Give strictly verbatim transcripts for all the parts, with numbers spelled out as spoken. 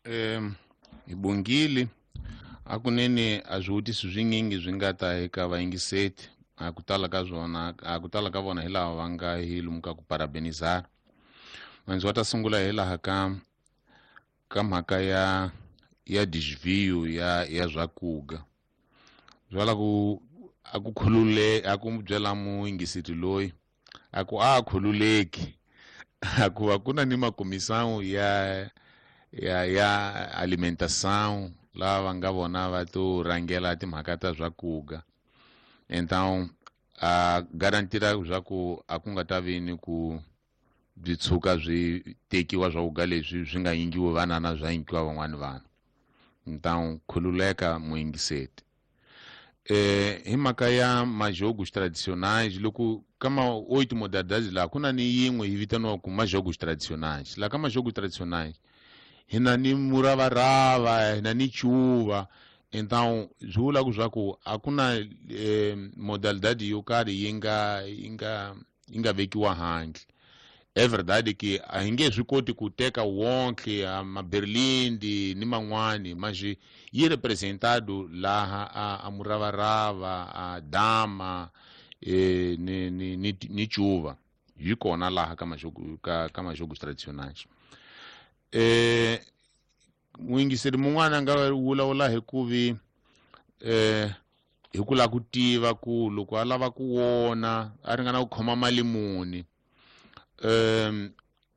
Um hi bongile hakunene a swivutiso swinyingi swi nga ta eka vayingiseti a ku tala ka swona a ku tala ka vona hi lava va nga hi lomu ka ku parabenizar ndzi wa ta sungula hi laha ka ka mhaka ya ya desvio ya ya swakuga byala ku a ku khulule a ku byela muyingiseti loyi a ku a khululeki a ku va ku na ni makomisão ya ya ya alimentação lava va nga vona va to rhangela timhaka ta swakuga então a garantira swa ku a ku nga ta vi ni ku byi tshuka byi tekiwa swakuga leswi swi nga yingiwi vanana swa yingiwa van'wani vanhu então khululeka muyingiseti eh hi mhaka ya majogos tradicionais loko ka ma oito modalidades laha ku na ni yin'we yi vitaniwaku majogos tradicionais laha ka majogos tradicionais hi na ni muravarava hi na ni cuva então swi vula ku swa ku a ku na eh, modalidade yo karhi yi nga yi nga yi nga vekiwa handle é verdade que a hi nge swi koti ku teka wonke a maberlindi ni man'wani mas yi representado laha a, a muravarava a dama eh, ni, ni, ni, ni cuva yi kona laha ka majogo ka, ka majogos tradicionais eh muyingiseri mun'wana a nga vulavula hi ku vi eh hi ku lava ku tiva ku loko a lava ku wona a ringana ku khoma mali muni um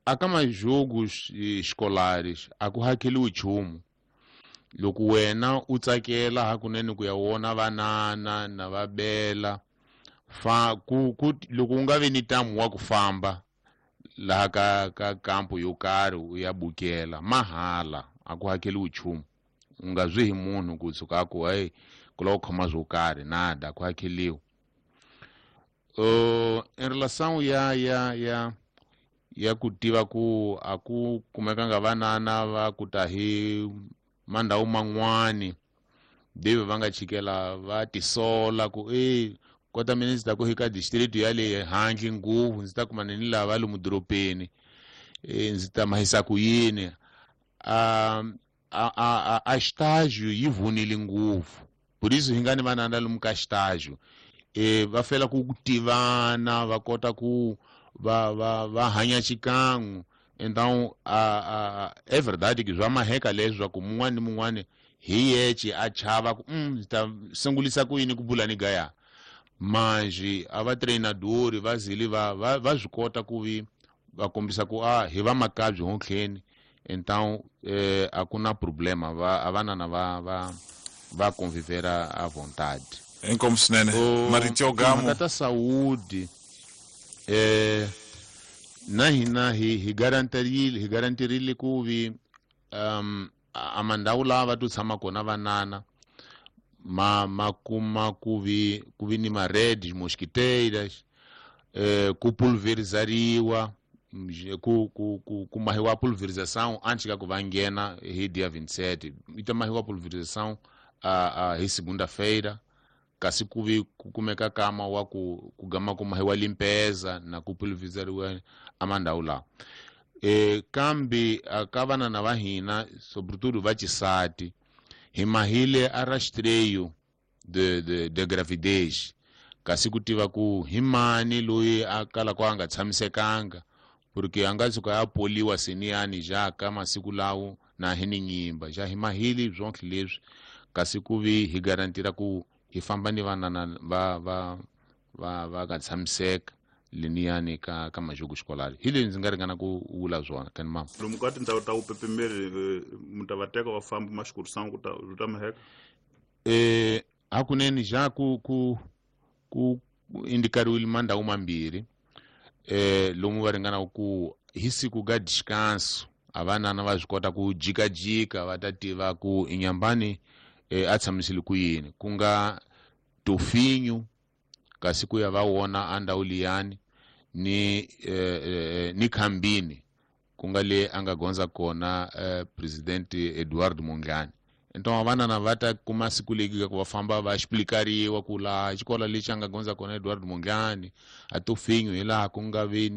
a ka majogos escolares a ku hakeliwi nchumu loko wena u tsakela hakunene ku ya wona vanana na va bela fa ku, ku loko u nga vi ni ntamu wa ku famba laha ka ka kampo yo karhi u ya bukela mahala a ku hakeliwi nchumu u nga zwi hi munhu ku tshuka a ku hey ku lava ku khoma swo karhi nada a ku hakeliwi uh, em relação ya ya ya ya ku tiva ku a ku kumekanga vanana va ku ta hi mandhawu man'wani deve va nga chikela va tisola ku e kota mina ndzi ta ku eka district ya le handle ngopfu ndzi ta kumana ni lava lomu doropeni e ndzi ta mahisa ku yini a a a a estágio yi vunile ngopfu por isso hi nga ni vanana lomu ka estágio e va fela ku tivana va kota ku va va va hanya xikan'we então a a é verdade que swa maheka leswaku mun'wani ni mun'wani hi yexe a chava ku mm, ndzi ta sungulisa ku yini ku bula ni gaya manji a va treinadori va zile va va va swi kota ku vi va kombisa ku a hi va makabyi hontlheni então eh, a ku na problema va a vanana va va va convivera à vontade. Inkomu swinene marito yo gamo. Timhaka ta saúde eh na hina hi hi garantirile hi garantirile ku vi um a mandhawu lawa va to tshama kona vanana ma ma kuma ku vi ku vi ni ma-redes mosquiteiras eh, ku pulverizariwa ku ku ku ku mahiwa pulverização antes ka ku va nghena hi dia vinte e sete yi ta mahiwa pulverização a, a hi segunda-feira kasi ku vi ku kumeka kama wa ku ku gama ku mahiwa limpeza na ku pulverizariwa a mandhawu lawa e kambe ka vanana va hina sobretudo va xisati hi mahile a rastreio de, de, de gravidez kasi ku tiva ku hi mani loyi a kalaka a nga tshamisekanga porque a nga tshuka a poliwa seniyani ja ka masiku lawo na hi ni nyimba ja hi mahile swonke leswi kasi ku vi hi garantira ku hi famba ni vanana va va va va nga tshamiseka leniyani ka ka majogo xikolari hi leswi ndzi nga ringana ku vula swona kani mama. Lomu ka tindhawu ta vupepemeri mi ta va teka va famba maxikurisana ku ta ku ta maheka? Eh hakunene ja ku ku ku indikariwile mandhawu mambirhi eh lomu va ringana ku hi siku ka descanso a vanana va swi kota ku jikajika va ta tiva ku inyambani eh, a tshamisile ku yini ku nga tofinyu kasi ku ya va wona a ndhawu liyani ni eh, eh, ni khambini ku nga le a nga gondza kona eh, president Eduardo Mondlane. Então vanana va ta kuma siku leki ku va famba va explicariwa ku laha xikolo lexi a nga gondza kona Eduardo Mondlane a tofinyu hi laha ku nga vi